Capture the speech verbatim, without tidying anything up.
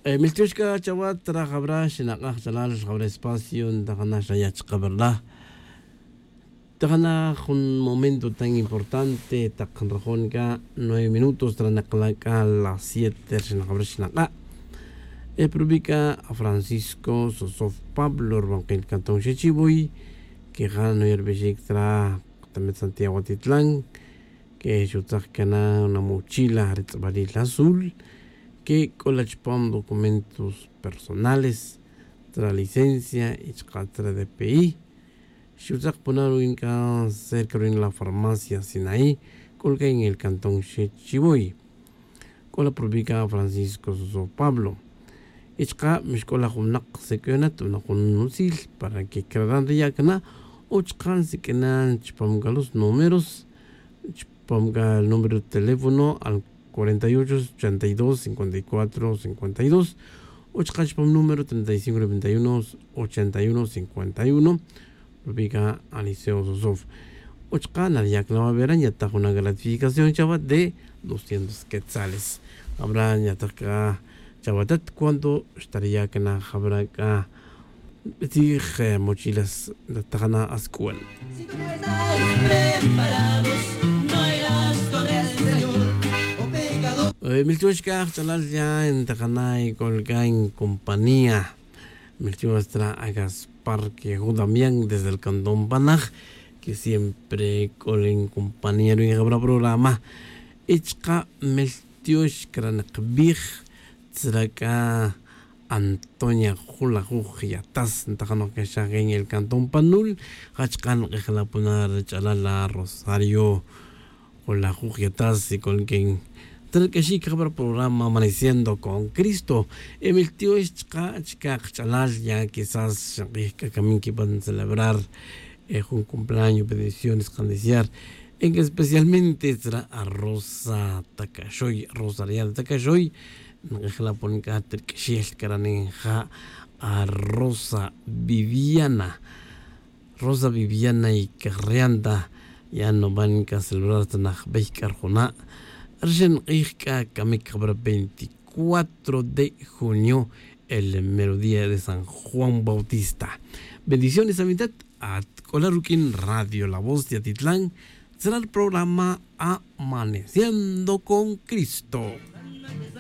Miltiox c'a chawa tra jabra xinak'aj ch'alal jabra espacio ntajana xaya' chaka verdad. Tajana jun momento tan importante tak nrajon c'a nueve minutos tra nakala' c'a las siete rxin jabra xinak'a'. E probi c'a francisco sosof pablo rubankil cantón xechivoy, que ja' noya' rubixic tra katamet santiago atitlan, que xutzak cana una mochila re tz'abalil azul, que c'o la chupam documentos personales, tzra licencia y chaka' tzra dpi. Xutzak pona ruin c'a cerca ruin la farmacia sinaí. C'o la c'a en el cantón xechivoy. C'o la probi c'a francisco soso pablo. Y chaka' mixc'o la jun winak sic'oyonat una jun utzil para que craran riya' cana, o chaka' nsiq'uinan chupam c'a los números, chupam c'a el número de teléfono al cuarenta y ocho ochenta y dos cincuenta y cuatro cincuenta y dos, o chaka' chupam número treinta y cinco noventa y uno ochenta y uno cincuenta y uno. Rubi c'a aliceo sosof, o chaka' nariya' c'a la va vera nyataj una gratificación chawa de doscientos quetzales. Jabra nyataj c'a chawa tat cuando xtariya' cana jabra c'a tzij mochilas. Tajana asc'uan. Miltiox c'a ajch'alal ya ntajana y c'ol c'a en compañía. Miltiox tra a gaspar que jun damián desde el cantón panaj, que siempre c'ol en compañía ruin jabra programa. Y chaka' miltiox cra nakbij tzra c'a antonia julajuj yatas ntajanoj caxaj en el cantón panul. Ja chaka' nk'ejla' pona ri ch'alal la rosario julajuj yatas y c'o nquen tzra c'a xic jabra programa amaneciendo con cristo. Y miltiox chaka' chica kach'alal ya quizás xank'ij c'a camin quipan celebrar jun cumpleaños bendiciones kaniciar. En especialmente tzra a rosa tacaxoy rosa rial tacaxoy. Nk'ejla' pon c'a tirq'uixel caranin ja a rosa viviana. Rosa viviana y carrianta ya nuban c'a celebrar ta najbey c'a rjuna'. Rixin k'ij c'a camic jabra veinticuatro de junio, el merodía de san juan bautista. Bendiciones a mitad. Atc'ola ruq'uin radio la voz de atitlan tzra ri programa amaneciendo con cristo.